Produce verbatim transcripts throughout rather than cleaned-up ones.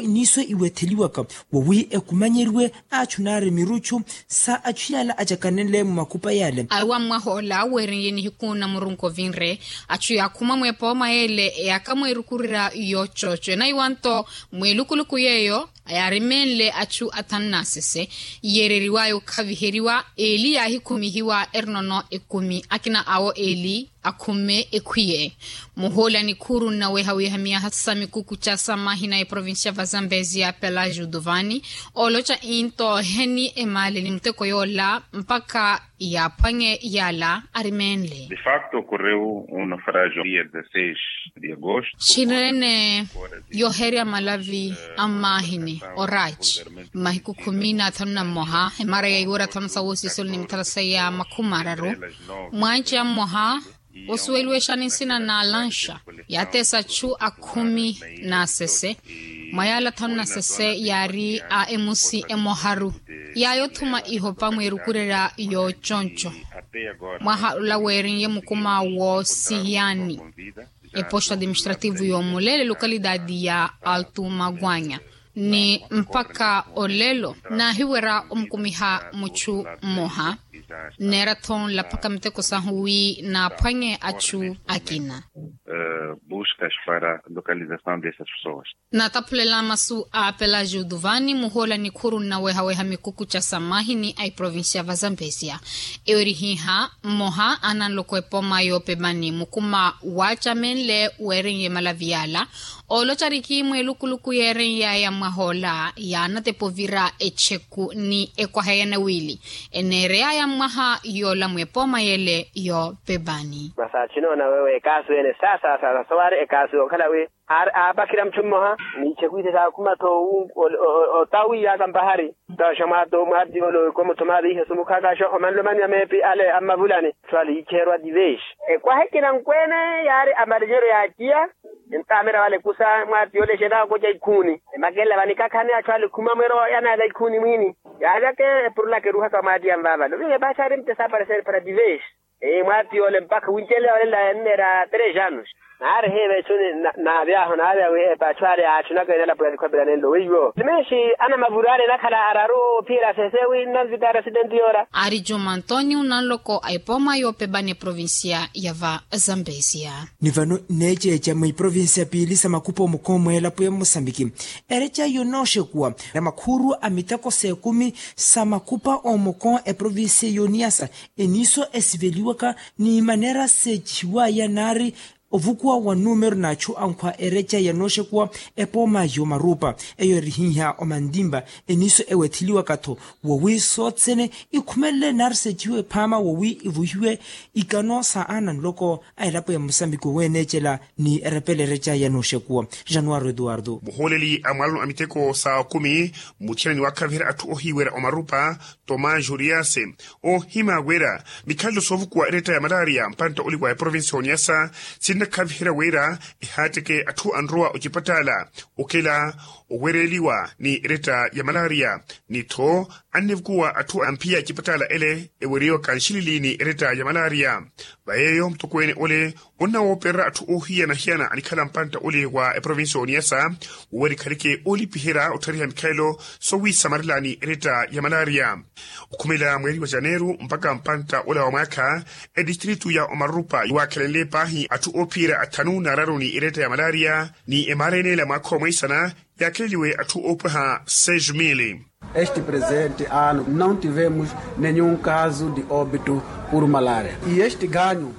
Iniiso iwetheliwaka wowi ekumanyeriwe achu naari miruchu sa achu yaala acakanenle mumakupa yaale. Aruwa mmwahoola weeriye nihiku na murunku ovinre achu yaakhuma mweepooma yeele eyaaka mweerukurira yoochoocho enaiwa nto mweelukuluku yeeyo yaarimenle achu athanu n'asese. Yeereriwaya okhaviheriwa eeli yaahikhumihiwa erinono ekumi akina awo eeli akhume ekhwiye. Muhooli a nikhuuru nnaweha wiihamiyaha sa mikuku ca samahina eprovincia va zambezia pelagio duvani ooloca into oheni emaaleli muteko yoola mpakha yaaphwanye yaala arimenle. De facto ocorreu um naufragio dia dezasseis de agosto. Xirene yoherya malavi a mmaahini oraci mmahiku khumi n'athanu na mmoha emara ya iwera athanu sa woosisoni ni mithala seiya makhumi araru. Mwanci a mmoha osuweliwa exani nsina na lanxa yaateesa achu akhumi n'asese mwa yaala athanu n'asese yaari a emusi emoharu yaaya othuma ihopa mweerukurerya yooconco. Mwaha ola weeriye mukuma woosihiyani eposto administrativo y'omuleele lokalidadi ya altumagwanya ni mpakha olelo naahiwerya omukumiha muchu mmoha. Nneera-tho nlaphaka miteko sahu wi naaphwanye achu akina. Buscas para localização dessas pessoas. Nataphulela masu a pelagio duvani muhoola nikhuuru nnawehaweha mikuku ca samahini a iprovincia va zambezia. Eyo erihiha mmoha ananloko epooma yoopemani mukuma waacamenle weerenye malavi yaala ooloca ariki mweelukuluku yeerenyaya mmwahoola yaanatepa ovira echeku ni ekwaha ya nawiili eneereyaya mmwaha yoola mweepooma yeele yoopemani. Masi achinoona wewe ekaasu ene sasa sasa sowaari ekaasu yookhala wi aari aapakhira muchu mmoha n'icheku ite saakhuma-tho otawiiyaka mpahari. Taxa mwaati ole ekomuthuma aviihe sumukhaakaxa omanle omaniwa meepi ale a mmavulani. Atthu ale yiicheherwa divesi ekwaha ekina nkweene yaari amarinyeryo yaaciya. Entaamira vale kusa mwaati ole exenaaka okoca ikhuuni emakelela vanikhakhani atthu ale khuma mwero yanaala ikhuuni mwiini. Yaalyaka epurulaka eruhaka mwaati ya mvaavale oviihe paatha aari mutesa apareseeri para divesi. Mwaati yoole mpakha wincelela olela enneera tres anos. Naari hiiva echu naavyahu naavya wi epaatho ale aachunaka enalapo ya likhwapela nenlo weiwo simenshi anamavuru ale enakhala araru ophiyela sese wi nnanvita arasidenti yoora. Aari juma antonio nanloko a epooma yoopepani eprovincia ya va zambezia. Ni vano nneeceeca mwa iprovincia piili sa makupa omukon mweelapo ya musambiki ereca yonooxekuwa na makhuuru a miteko s'ekumi sa makupa omoko eprovincia y'oniyasa. Eniiso esiveliwaka ni maneera seecihiwaya naari ovukuwa wa numero n'achu ankhwa ereca yanooxekuwa epooma y'omaruupa. Eyo erihiiha omantimpa eniiso ewetheliwaka-tho wowi sothene ikhumelele naari seecihiwe phaama wowi ivuhiwe ikano sa aana nloko a elapo ya musambiki oweneecela ni erepela ereca yanooxekuwa. Januwaro eduwardo. Muhooleli a mwalano a miteko sa okumi mutthina ni waakhaviherya atthu ohiiwerya omarupa tomás juriase oohima wira mikhalelo soovukuwa eretta ya malaria mpantta oli wa eprovincia y'oniyasa sinnakhaviherya wira ehaatteke atthu anrowa ocipatala okela oweereliwa ni eretta ya malaria. Ni-tho annivukuwa atthu amphiya ecipatala ele eweriwaka nxilili ni eretta ya malaria. Va yeeyo mutokweene ole onnawoopererya atthu oohiyana-hiyana anikhala mpantta ole wa eprovincia y'oniyasa wowerikhaleke oolipiherya otthariha mikhalelo sowiisamarela ni eretta ya malaria. Okhumelela mweeri wa janeeru mpakha mpantta ola wa mwaakha etistritu ya omarupa yiwaakhelenle paahi atthu oophiyerya athanu n'araru ni eretta ya malaria ni emaara eneela mwaakha omweisana yaakheleliwe atthu oopweha seis mili. Este presente ano não tivemos nenhum caso de óbito por malária e este ganho.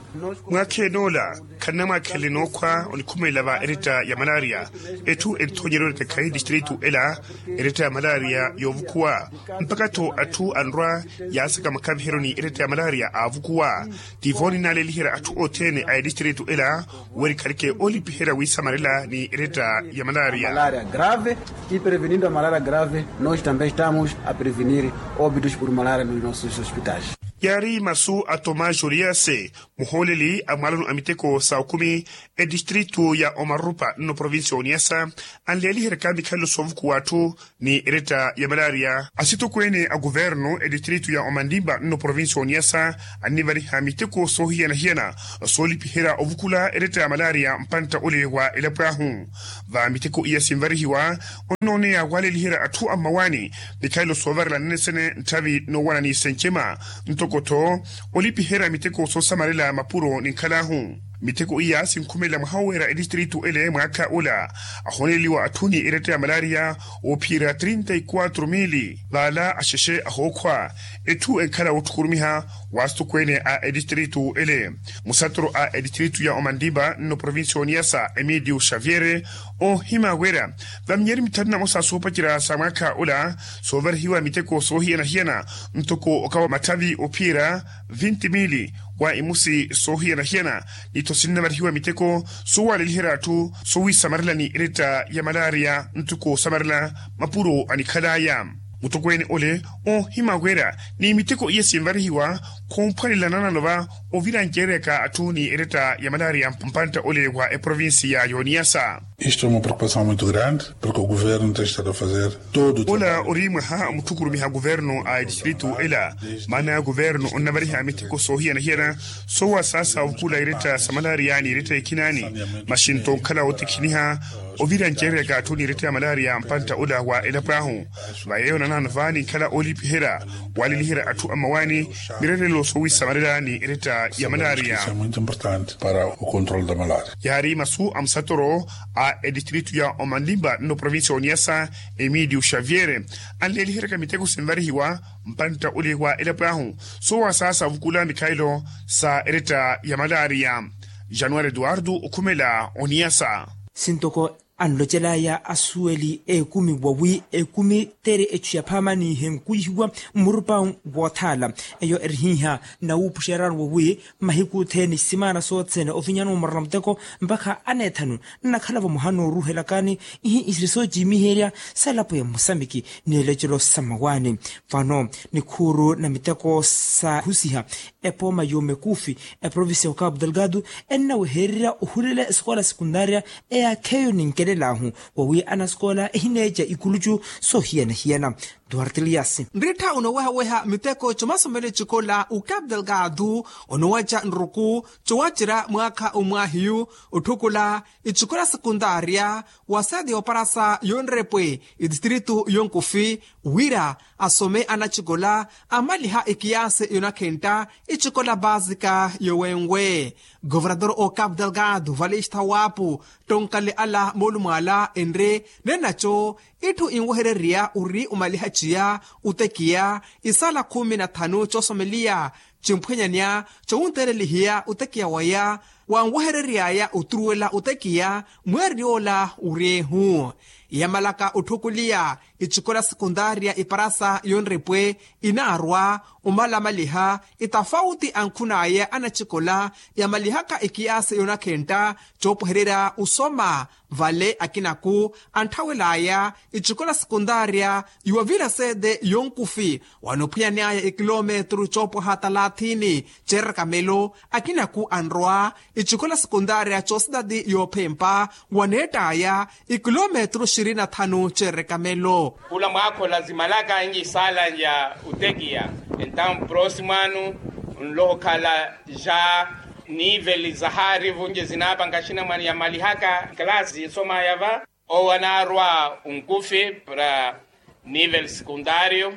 Mwaakha enoola khannamwaakhelele nookhwa onikhumelela va eretta ya malaria. Etthu entthonyeryo eretekhayi distritu ela eretta ya malaria yoovukhuwa mpakha-tho atthu anrwa yaasaka makhaviheryo ni eretta ya malaria aavukuwa. Tivo ninaaleliherya atthu othene a etistritu ela werikhaleke oolipiherya wiisamarela ni eretta ya malaria. Malaria grave e prevenindo a malaria grave nós também estamos a prevenir óbitos por malaria nos nossos hospitais. Yaari masu a tomás joriase, muhooleli a mwaalano a miteko sa okumi, etistritu ya omarupa nno provincia ya oniasa, anleeliheryaka mikhalelo soovukuwa atthu ni eretta ya malaria. Asitokweene a kuvernu etistritu ya omanlimba nno provincia ya oniasa, annivariha miteko soohiyana-hiyana soolipiherya ovukula eretta ya malaria mpantta ole wa elapo ahu. Va miteko iya sinvarihiwa, onnooneya waaleliherya atthu a mmawaani mikhalelo soovarela nnesene ntthavi noowana ni sencema, ntoko-tho olipiherya miteko soosamarela mapuro ni nkhal'ahu. Miteko iya sinkhumelela mwaha oweera etistritu ele mwaakha ola, ahooneleliwa atthu ni eretta ya malaria oophiyerya trinta y quatro mili. Vaala axexe ahookhwa, etthu enkhala wootthukurumiha wa asitokweene a etistritu ele. Musatoro a etistritu ya omanlimba nno provincia ya oniasa emilio xavier, oohima wira va minyari mithanu na mosa soopacerya sa mwaakha ola, soovarihiwa miteko soohiyana-hiyana, ntoko okawa matthavi oophiyerya vinti mili wa imusi soohiyana-hiyana, ni-tho sinnavarihiwa miteko soowaleliherya atthu sowisamarela ni eretta ya malaria ntoko osamarela mapuro anikhal'aya. Mutokweene ole oohima wira ni miteko iya sinvarihiwa khumphwanela nanano va ovirancereryaka atthu ni eretta ya malaria mpantta ole wa eprovincia ya oniasa. Isto é uma preocupação muito grande, porque o governo tem estado a fazer todo o trabalho. Ola ori mwaha mutthukurumiha kuvernu a etistritu ela, maana ya kuvernu onnavariha miteko soohiyana-hiyana soowasaasa ovukula eretta sa malaria ni eretta ekhinani, masi nto onkhala ootikhiniha ovirancereryaka atthu ni eretta ya malaria mpantta ola wa elapo ahu. Va yeeyo nanano va ninkhala oolipiherya waaleliherya atthu a mmawaani mirerelo soowisamarela ni eretta ya malaria. Isso é muito importante para o controle da malaria. Yaari masu a musatoro a etistritu ya omanlimba nno provincia ya oniasa, emilio xavier, anleeliheryaka miteko sinvarihiwa mpantta ole wa elapo ahu soowasaasa ovukula mikhalelo sa eretta ya malaria. Januari eduardo okhumela oniasa. Sintoko anlocel'aya asuweli ekumi wawi ekumi tere echu ya phaama nihenkuihiwa mmurupa woothaala. Eyo erihiiha nawuupuxeryaru wawi mahiku othene simaana sothene ovinyana omorona muteko mpakha aneethanu nnakhala vamoha nooruhelakani ihi isiri soociimiherya sa elapo ya mmusamiki ni elocelo sa mmawaani. Vano nikhuuru na miteko sa husiha epooma y'omekufi eprovincia ya okapu delgado ennawehererya ohulela esikola sekundaria eyaakheyo ninkelel'ahu wawi anasikola ehineeca ikulucu soohiyana-hiyana. Duarte elias. Nrittha onooweha-weha miteko comasomelo ecikola okapu delgado onoowaca nruku cowacerya mwaakha omwaahiyu otthukula ecikola sekundaria wa sede y'oparasa y'onrepwe etistritu y'onkufi wira asome anacikola amaliha ekiyaasi yonakhentta ecikola baasika yowenwe. Governador okapu delgado valista wapu tonkale ala moolumo ala enre nenaco itthu inwehererya ori omaliha ciya otekiya isala khumi na thanu coosomeliya cimphwenyanya cowunteelelihiya otekiya waya wanwehereryaya oturuwela otekiya mweeri yoola oryeehu. Yamalaka otthukuliya ecikola sekundaria eparasa yonripwe inaarwa omalamaliha etafauti ankhun'aya anacikola yamalihaka ekiyaasi yonakhentta coopwehererya osoma vale akinaku antthawel'aya ecikola sekundaria yuwavira sede yonkufi wanophwiyani aya ekilometru coopwaha talathini ceerakamelo akinaku anrowa ecikola sekundaria coositati yoophempa waneett'aya ekilometru xirini na thanu ceerekamelo. Khula mwaakhola zimalaka enci saala nca otekiya entamu prosimwanu nlohokhala ja niveli zahaari vunci zinaapanka xinamwani yamalihaka kalasi zinsomaya va owo anaarwa onkufi para nivel sekundario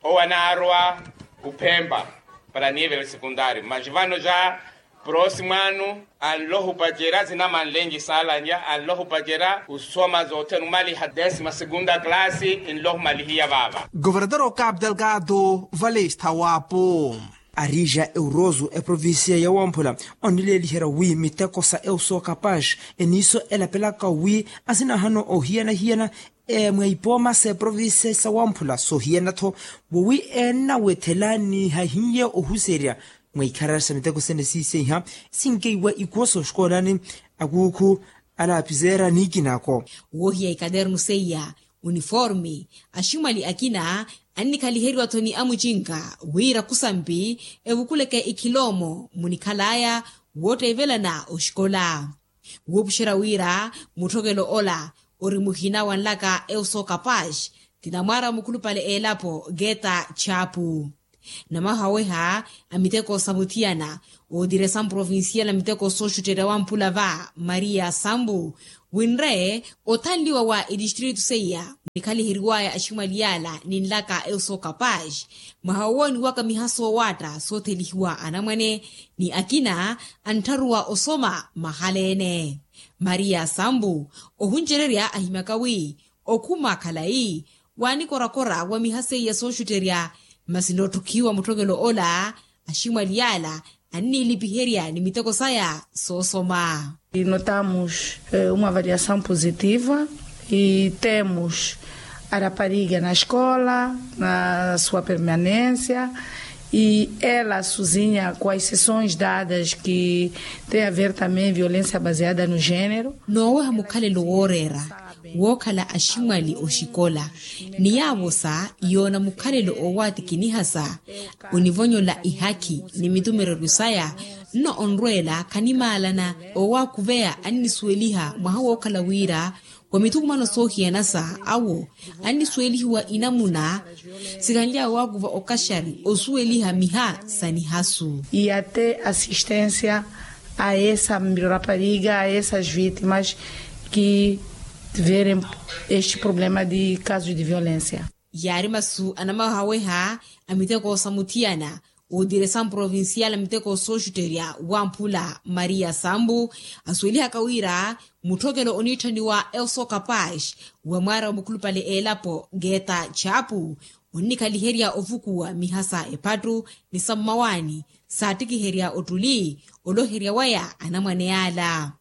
owo anaarwa ophempa para nivel sekundario mas vano ja prosimwanu anlohupacerya zinamanlenci saalanya anlohupacerya osoma zothene omaliha desima segunda kalasi nlohumalihiya vaava. Governador okapu delgado valista wapu arija euroso eprovincia ya wamphula onileeliherya wi miteko sa euso kapax eniiso elapelaka wi asinahano ohiyana-hiyana mwa ipooma sa eprovincia sa wamphula sohiyana-tho wowi ennawethelani hahiye ohuserya mwa ikharari sa miteko sene siiseiha sinkeiwa ikuwo soxikoolani akuukhu alaapizeera niikinako. Wohiya ikadernu seiya uniformi. Aximwali akina annikhaliheriwa-tho ni amucinka wira khusampi evukuleke ikhiloomo munikhalaya wootteevelana oxikola. Wuupuxerya wira mutthokelo ola ori muhina wa nlaka euso kapaxi ti namwaara wa mukhulupale eelapo geta chapu. Namahaweha a miteko sa muthiyana otiresa mprovincial a miteko sooxutterya wa mpula va maria sambu winre othanliwa wa etistritu seiya munikhaliheriwaya aximwali yala ni nlaka euso kapaxi mwaha wowooniwaka miha soowaatta soothelihiwa anamwane ni akina anttharuwa osoma mahala-ene. Maria sambu ohuncererya ahimyaka wi okhuma khalayi waanikorakora wa miha seiya sooxutterya masi nootthukiwa mutthokelo ola aximwali yala anniilipiherya ni miteko saya soosoma. Notamos uma variação positiva e temos a rapariga na escola na sua permanência e ela sozinha com as sessões dadas que tem a ver também violência baseada no género. Nooweha mukhalelo wooreera wookhala aximwali oxikola ni yaavosa yoona mukhalelo oowatikinihasa onivonyola ihakhi ni mitumereryo saya nno onrweela khanimaalana oowakhuveya annisuweliha mwaha wookhala wira wa mithukumano soohiyanasa awo annisuwelihiwa inamuna sikhanly'awe waakuva okaxari osuweliha miha sa nihasu. E até assistência a essa rapariga a essas vítimas que tiverem este problema de casos de violência. Yaari masu anamahaweha a miteko sa muthiyana otiresa mprovincial a miteko sooxutterya wa mphula maria sambu asuwelihaka wira mutthokelo oniitthaniwa euso kapaxi wa mwaara wa mukhulupale eelapo geta chapu onnikhaliherya ovukuwa miha sa ephattu ni sa mmawaani saattikiherya ottuli oloherya waya anamwane yala.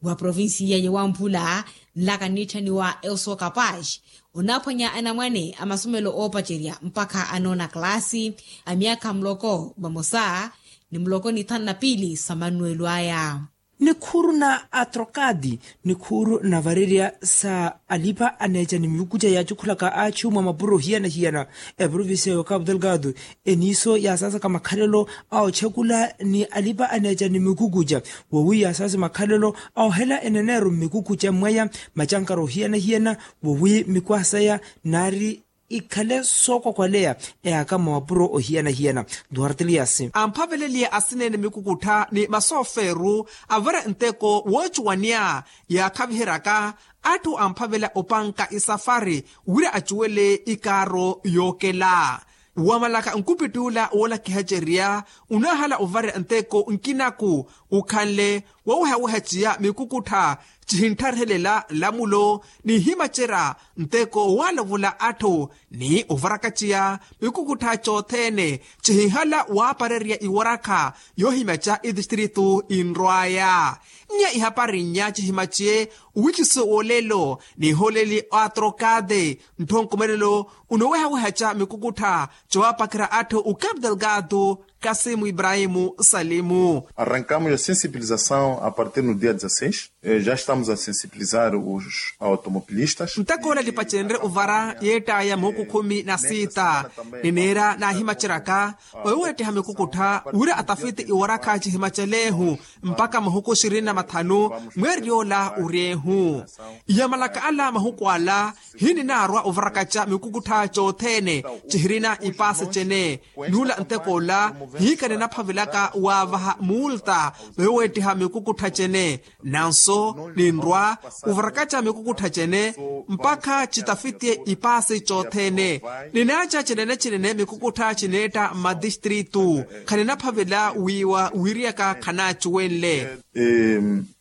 Wa provincia ya wamphula nlaka nniitthaniwa euso kapaxi onaaphwanya anamwane a masomelo oopacerya mpakha anoona kalaasi a myaakha muloko vamosa ni muloko ni thanu na piili sa mannuwelo aya. Nikhuuru na atrokadi nikhuuru na varerya sa alipa-aneeca ni mikukuca yaacukhulaka achu mwa mapuro hiyana-hiyana eprovincia ya okapu delgado eniiso yaasaasaka makhalelo a ochekula ni alipa-aneeca ni mikukuca wowi yaasaase makhalelo a ohela eneneero mmikukuca mmwaya macankara ohiyana-hiyana wowi mikwaha saya naari ikhale sookwakwaleya eyaaka mwa mapuro ohiyana-hiyana. Duarte elias amphaveleliye asineene mikukuttha ni masoofeeru avare nteko woocuwaniya yaakhaviheryaka atthu amphavela opanka isafari wira acuwele ikaaro yookela wamalaka nkupittuula woolakihacerya onaahala ovarya nteko nkinaku ukhanle wowehawehaciya mikukuttha cihinttharhelela nlamulo nihimacerya nteko waalovola atthu ni ovarakaciya mikukuttha cothene cihinhala waaparerya iwarakha yoohimaca itistritu inrwaya nya ihapari nya cihimaciye owikiso wolelo niholeli atrokade nttho nkomelelo unowehawehaca mikukuttha cowapakhira atthu ukapu delgado kasimu ibrahimu salimu. Arrankamos a sensibilização a partir no dia dezasseis. Já estamos a sensibilizar os automobilistas. Ntakoola lipacenre ovara yeettaya muhuku khumi na siita nineera naahimaceryaka oyo weettiha mikukuttha wira atafiti iwarakha cihimaceleehu mpakha mahuku ishirini na mathanu mweeriy'ola oryeehu. Iyamalaka ala mahuku ala hininaarwa ovarakaca mikukuttha cothene cihirina ipaasi cene n'ula ntek'ola hiikha ninaphavelaka waavaha muulta mayo weettiha mikukuttha cene. Nanso ninrwa ovarakaca mikukuttha cene mpakha citafitiye ipaasi cothene ninaaca cinene-cinene mikukuttha cineetta mmatistritu khaninaphavela wiiwa wiiriyaka khanaacuwenle.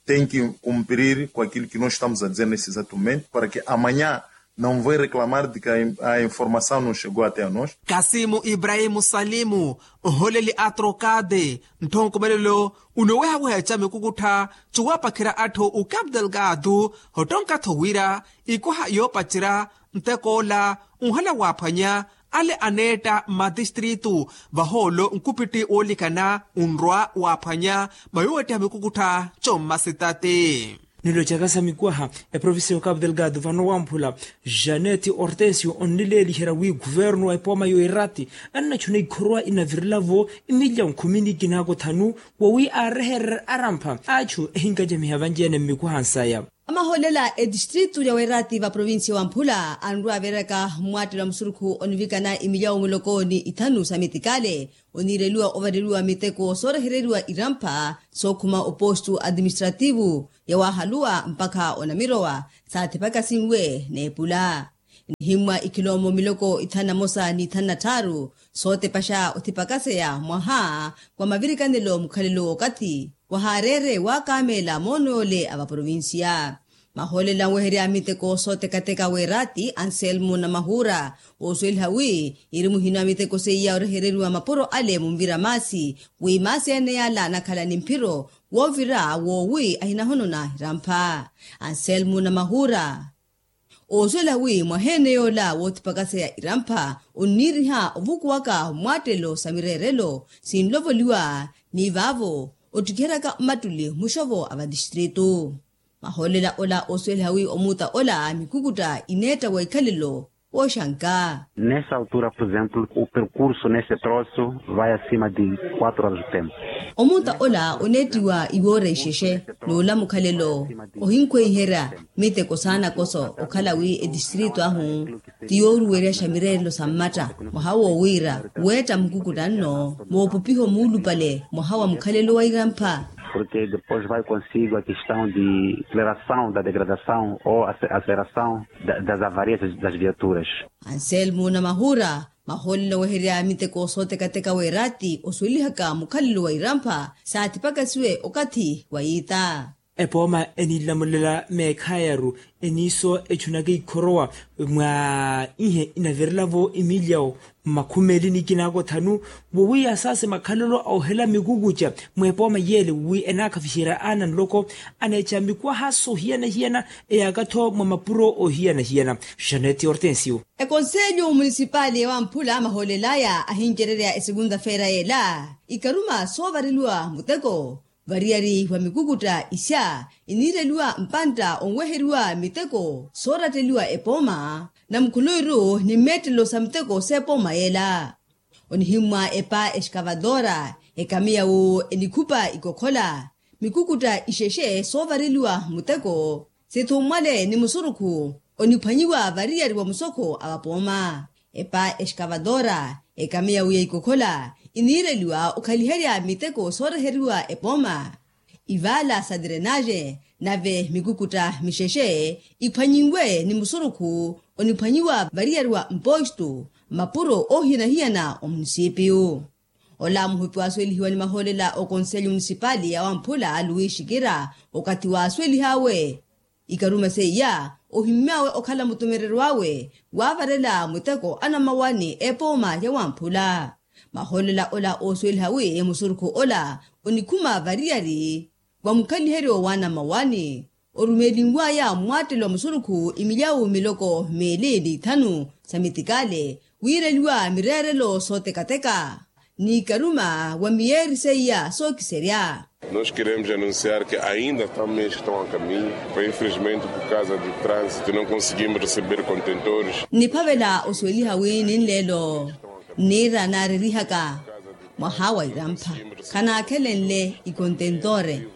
Tem que cumprir com aquilo que nós estamos a dizer nesse exato momento para que amanhã não vem reclamar de que a informação não chegou até a nós. Kasimu ibrahimu salimu oholeli a trokade nttho nkomelelo unowehawehaca mikukuttha cowapakhira atthu ukapu delgado ottonka-tho wira ikwaha yoopacerya ntek'ola onhala waaphwanya ale aneetta mmatistritu vahoolo nkupitti woolikana onrwa waaphwanya mayo weettiha mikukuttha commasitati. Nilocaka sa mikwaha, eprovincia ya okapu delgado vano wamphula, janeti hortensio onnileeliherya wi kuvernu wa epooma ya oirati annachuna ikhorowa inavirela-vo imilya nkhumi ni kinaako thanu, wowi aarehererya arampha achu ehinkacamiha vanci-ene mmikwaha nsaya. Amahoolela etistritu ya weerati va provincia wamphula anrwa aveeraka mmwattelo wa musurukhu onivikana imilyawo muloko ni ithanu sa mitikale, oniireliwa ovareliwa miteko soorehereriwa irampha sookhuma opostu atiministrativu ya waahaluwa mpakha onamirowa. Saathipakasinwe n'epula nihimmwa ikhilomo miloko ithanu na mosa ni ithanu na tthaaru, sootepaxa othipakaseya mwaha wa mavirikanelo mukhalelo w'okathi wahaareere waakameela moono yoole a vaprovincia. Mahoolela anweherya miteko sootekateka weerati anselmo namahuura, oosuweliha wi iri muhina miteko seiya orehereriwa mapuro ale munvira maasi, wi maasi ene yaala anakhala ni mphiro woovira woowi ahinahonona irampha. Anselmo namahuura oosuwela wi mwaheene yoola woothipakaseya irampha onniiriha ovukuwaka mmwaattelo sa mireerelo sinlovoliwa ni vaavo ottikiheryaka mmattuli muxovo a vatistritu. Mahoolela ola oosuweliha wi omuuta ola mikukutta ineetta wa ikhalelo wooxanka. Nessa altura por exemplo o percurso nesse troço vai acima de quatro horas de tempo. Omuuta ola oneettiwa iwoora ixexe n'ola mukhalelo ohinkhweiherya miteko saanakoso okhala wi etistritu ahu ti yooruweryaxa mireerelo sa mmatta mwaha woowiira weetta mukukutta nno moopupiho muulupale mwaha wa mukhalelo wa irampha. Porque depois vai consigo a questão de aceleração da degradação ou aceleração das avarias das viaturas. Anselmo namahuura mahoolela oweherya miteko sootekateka weerati osuwelihaka mukhalelo wa irampha saathipakasiwe okathi wa yiita. Epooma enilamulela meekhayaru eniiso echunaka ikhorowa mwa ihe inavirela-vo imilyawo mmakhumeli ni kinaako thanu, wowiya saase makhalelo a ohela mikukuca mweepooma yeele wowi enaakhaviherya aana nloko aneeca mikwaha soohiyana-hiyana eyaaka-tho mwa mapuro oohiyana-hiyana. Janeti hortensio. Ekonselyo munisipali ya wamphula mahoolelaya ahincererya esekunta-feera yeela ikaruma soovareliwa muteko variyari wa mikukutta isya iniireliwa mpantta onweheriwa miteko sooratteliwa epooma na mukhuluwiru ni mmeettelo sa miteko s'epooma yeela. Onihimmwa epa exkavatora ekamiya wu enikhupa ikokhola mikukutta ixexe soovareliwa muteko sithummwale ni musurukhu oniphwanyiwa variyari wa musokho a vapooma. Epa exkavatora ekamiya wu ya ikokhola iniireliwa okhaliherya miteko sooreheriwa epooma ivaala sa drenaxe nave mikukutta mixexe iphwanyinwe ni musurukhu oniphwanyiwa variyari wa mpostu mapuro oohiyana-hiyana omunisipiyu. Ola muhupi waasuwelihiwa ni mahoolela okonselyo munisipali ya wamphula luwi xikira okathi waasuwelih'awe ikaruma seiya ohimmy'awe okhala mutumereryo awe waavarela muteko anamawani epooma ya wamphula. Mahoolela ola oosuweliha wi musurukhu ola onikhuma variyari wa mukhaliheryo wa anamawani orumeelinw'aya mmwattelo wa musurukhu imilyawu miloko meeli ni ithanu sa mitikale wiireliwa mireerelo sootekateka ni ikaruma wa miyeeri seiya sookiserya. Nos queremos anunciar que ainda estamos mesmo estão a caminho, mas infelizmente por causa do trânsito não conseguimos receber contentores. Niphavela osuweliha wi ninleelo nniira naarerihaka mwaha wa irampha khanaakhelenle ikontentore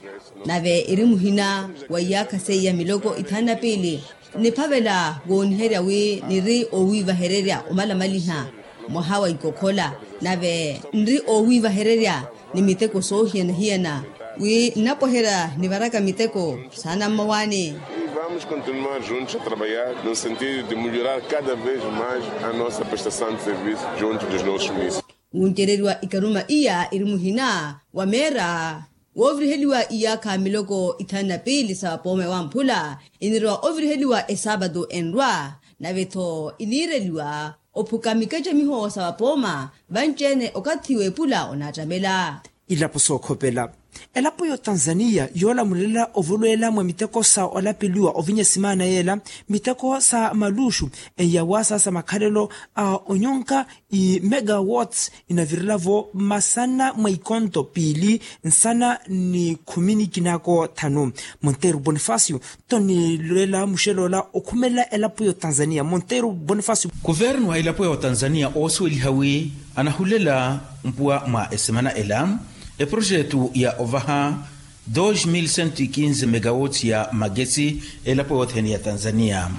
nave eri muhina wa iyaakha seiya miloko ithanu na piili. Niphavela wooniherya wi niri oowiivahererya omalamaliha mwaha wa ikokhola nave nri oowiivahererya ni miteko soohiyana-hiyana wi nnapweherya nivaraka miteko saana mmawaani. Vamos continuar juntos a trabalhar no sentido de melhorar cada vez mais a nossa prestação de serviço junto dos nossos municípios. Wuncereriwa ikaruma iya iri muhina wa meera wooviriheliwa iyaakha miloko ithanu na piili sa vapooma ewamphula inirowa oviriheliwa esaapatu enrwa nave-tho iniireliwa ophuka mikacamiho sa vapooma vanci-ene okathi w'epula onaattamela. Ilapo sookhopela. Elapo ya otanzaniya yoolamulela ovolweela mwa miteko sa olapeliwa ovinya simaana yeela, miteko sa maluuxu, eyawaasa sa makhalelo a onyonka, imegawatts inavirelavo masana mwa ikonto piili nsana ni khumi ni kinaako thanu. Monteiro bonifacio tonilweela muxelola okhumelela elapo ya otanzaniya monteiro bonifacio. Kuvernu wa elapo ya otanzaniya oosuweliha wi anahulela mpuwa mwa esemana ela eprojetu ya ovaha dos mil cento e quinze megawatts ya magesi elapo yothene ya tanzaniya.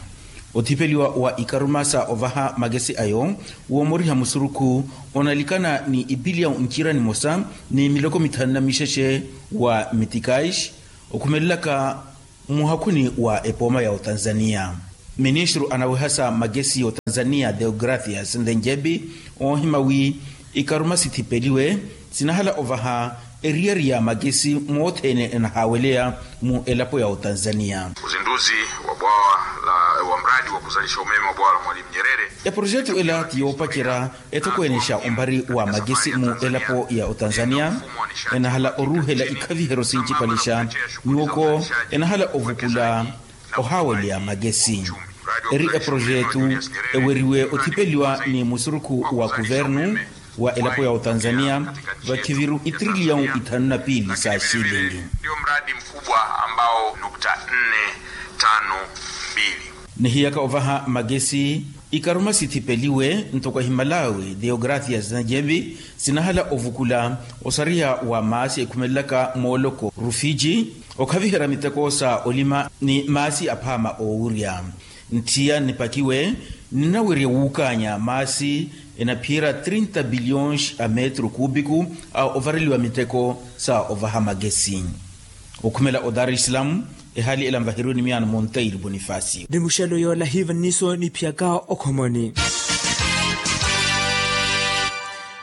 Othipeliwa wa ikaruma sa ovaha magesi ayo woomoriha musurukhu onalikana ni ipiliya ncira nimosa ni miloko mithanu na mixexe wa mitikais okhumelelaka muhakhuni wa epooma ya otanzaniya. Ministru anawehasa magesi ya otanzaniya theogracias nthenjebi oohima wi ikaruma sithipeliwe sinahala ovaha eriyari ya magesi moothene enahaaweleya mu elapo ya otanzaniya. Uzinduzi wa bwawa la wa mradi wa kuzalisha umeme wa bwawa la mwalimu nyerere. Eprojetu ela ti yoopacerya etokweenexa ompari wa magesi mu elapo ya otanzaniya enahala oruuhela ikhaviheryo sincipalixa nyuwoko enahala ovukula ohaaweleya magesi. Eri eprojetu eweriwe othipeliwa ni musurukhu wa kuvernu wa elapo ya otanzaniya vakhiviru itriliyau ithanu na piili sa xilingi. Ndiyo mradi mkubwa ambao nukta nne tano mbili. Nihiyaka ovaha magesi ikaruma sithipeliwe ntoko ahimalawi theogracias nthenjebi sinahala ovukula osariha wa maasi ekhumelelaka mooloko rufiji okhaviherya miteko sa olima ni maasi aphaama oowurya. Ntthiya nipakiwe ninawerya wuukaanya maasi enaphiyerya trinta biliyons a metru kuupiku a ovareliwa miteko sa ovaha magesi. Okhumela o dar es salaam ehaali ela nvaheriwe ni miyaano monteiro bonifacio. Ni muxelo yoola hiiva nniso niphiyaka okhomoni.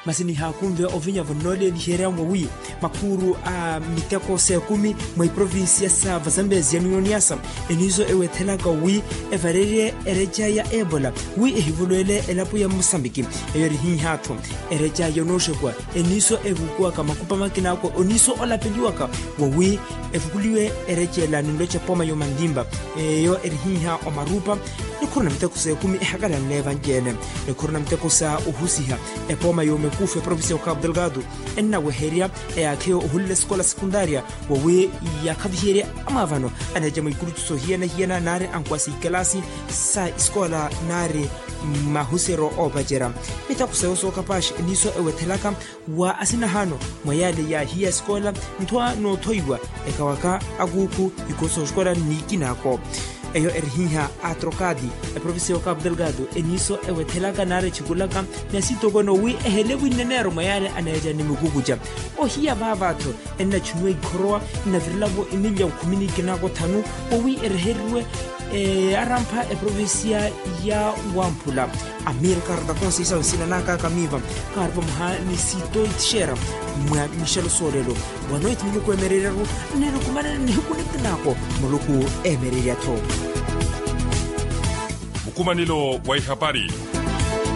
Masi nihaakunve ovinya vonnooleliherya mwawi makhuuru a miteko s'ekumi mwa iprovincia sa vazambezi ya niyoniyasa eniso ewethelaka wi evarerye ereca ya ebola wi ehivolwele elapo ya musambiki. Eyo erihiiha-tho ereca yonooxekuwa eniso evukuwaka makupa makinaako oniso olapeliwaka wawi evukuliwe ereca ela ninloca epooma y'omantimpa. Eyo erihiiha omarupa nikhuru na miteko s'ekumi ehakalanle evanci-ene nikhuru na miteko sa ohusiha epooma y'omekufu eprovincia ya okapu delgado ennaweherya eyaakheyo ohulela esikola sekundaria wawi yakhaviherya amwaavano aneeca mwa ikulutu sohiyana-hiyana naari ankuwa sa ikalasi sa isikola naari mahuseryo oopacerya miteko seyo sookapaxa eniso ewethelaka wa asinahaano mwa yaale yaahiya esikola nthwa noothoiwa ekawaka akuukhu ikoosa osikola nniikinaako. Eyo erihiiha atrokadi eprovincia ya okapu delgado eniso ewethelaka naari ethikulaka ni asitokoni owi ehele winneneero mwa yaale aneeca ni mukukuca ohiya vaava-tho ennachuniwa ikhorowa nnavirelavo emilya khumi ni kinaako thanu owi ereheriwe arampha eprovincia ya wamphula. Amir karta konseisa nsina naakaka miiva kaari vamoha ni sitoitixera mwa mixelo soolelo wanoiti muluku emereryaru nnilukumanani nihiku nikinaako muluku emererya-tho. Mukumanelo wa ihapari.